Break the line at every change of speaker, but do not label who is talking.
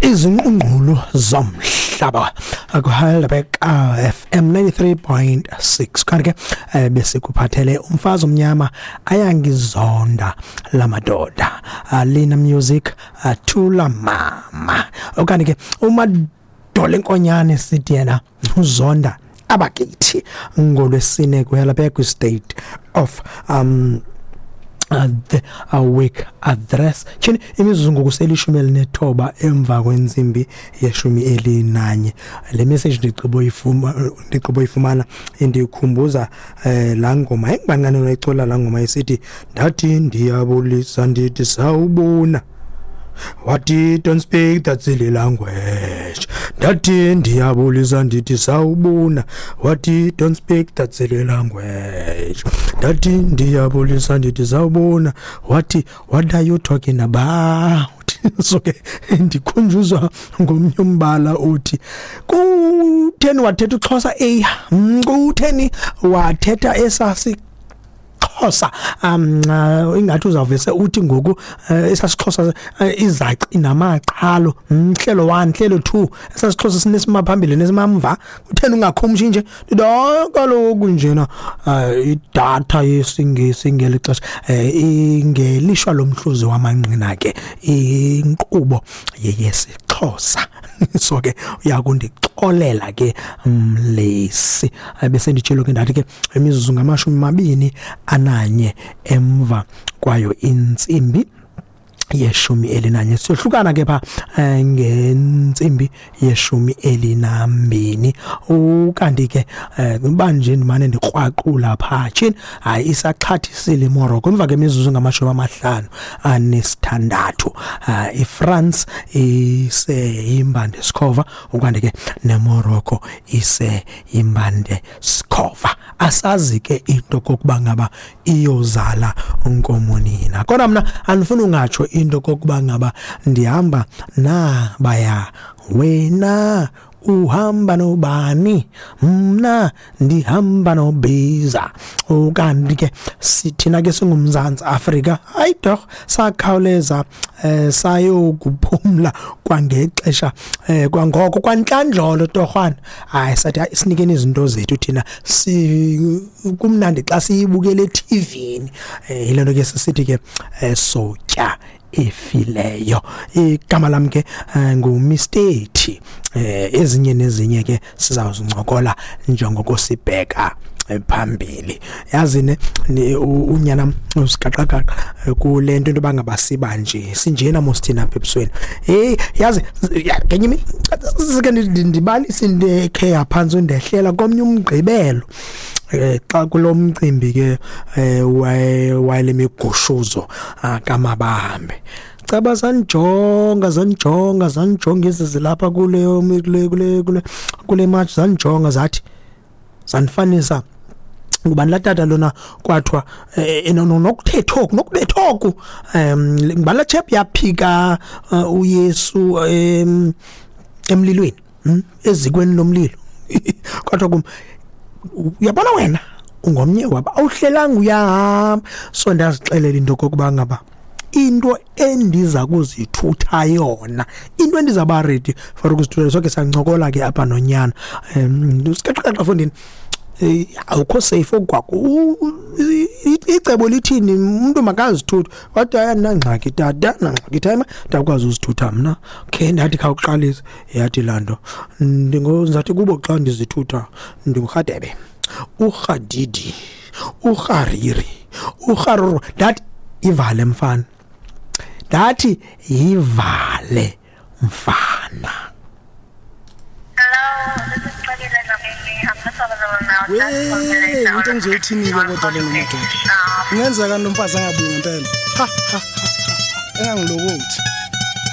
Izingqungqulu zomhlaba kuHeidelberg FM 93.6. Kanti ke besikuphathele umfazi omnyama ayangizonda lamadoda, Lina Music, Thula Mama. Okanye ke uMadola Enkonyane sithi yena uzonda abakithi ngolwesine kuHeidelberg State of the week address. Tyhini, imizuzu ngoku selishumi elinethoba emva kwentsimbi yeshumi elinanye. Le message ndigqibo yifumana indikhumbuza laa ngoma engibancane noyicula, laa ngoma isithi, "Ndathi ndiyabulisa ndithi sawubona, wathi don't speak that silly language. Ndathi ndiyabulisa ndithi sawubona, wathi don't speak that silly language. Ndathi ndiyabulisa ndithi sawubona, wathi what are you talking about?" So ke ndikhunjuzwa ngomnye umbala uthi, "Kutheni wathetha uXhosa eya? Kutheni wathetha esasi Xhosa?" Ingathi uzawuvese uthi ngoku esasixhosa, izaci namaqhalo, hlelo 1, hlelo 2, esasixhosa sinesima phambili nesimamva. Kutheni ungakhumshi nje? Ndithi kaloku njena idatha yesiNgesi ngeli xesha, ingelishwa lomhluzi wamanqina ke inkqubo yeyesiXhosa. So ke uyakundixolela ke mlesi. Bese nditshilo ke, ndathi ke imizuzu ngama-21 emva kwayo intsimbi yeshumi elinanye. Siyohlukana ke pha ngentsimbi yeshumi elinambini. Ukanti ke uba nje ndimane ndikrwaqula phaa, tshini, hayi, isaxhathisile iMorocco emva kemizuzu ngama-56. iFrance iseyimbande sikhova, ukanti ke neMorocco iseyimbande sikhova. Asazi ke into kokuba ngaba iyozala nkomo nina, kodwa mna andifuni ungatsho into kokuba ngaba ndihamba nabaya. Wena uhamba nobani? Mna ndihamba nobiza. Ukanti ke sithina ke singuMzantsi Afrika, hayi torh, sakhawuleza sayokuphumla kwangexesha, kwangoko kwantlandlolo torhwana. Hayi, sathi hayi, sinikeni izinto zethu thina, si kumnandi xa siyibukele eTVini. Yile nto ke sisithi ke sotya efileyo. Igama lam ke nguMr T. Ezinye nezinye ke sizawuzincokola njengoko sibheka phambili. Yazi ne unyana usigaqagaqa kule nto, into yoba siba nje sinjena mos thina apha ebusweni. Hey, yazi ngenye imini sike ndibalise into ekhe yaphantsi undehlela komnye umgqibelo, xa kulo mcimbi ke wale migushuzo kaMabahambe. Caba zanijonga, zanijonga, zanijonga ezi zilapha kule march, zanijonga, zathi zanifanisa ngubani laa tata lona kwathiwa nokuthetha oku nokubetha oku, ngubani laa chap yaphika uYesu emlilweni, ezikweni lomlilo? Kwathiwa kum, "Uyabona wena ungomnye wabo, awuhlelanga uyahamba." So ndazixelela into kokuba ngaba into endiza kuzithutha yona, into endizawuba ready for ukuzithutha. So ke sancokola ke apha nonyana sikaqaqaqa fondini, awukho safe okwakho. Icebo lithini? Umuntu makazithuthe. Wathi, "Hayi, andinangxaki tata, nangxaki time, ndakwazi uzithutha mna." Khe ndathi, "Khawuqalise." Yathi laa nto, "Ndingozathi kubo xa ndizithutha ndingurhadebe, urhadidi, urhariri, urharuru." Ndathi, "Ivale mfana." Ndathi, "Yivale mfana."
Hello, this is Xolile Dlamini. I'm not available now.
We, into engizoyithini-ke kodwa le nomadoda? Kungenzeka lo mfazi angabuyi ngempela. Ha ha ha ha, engangilokothi.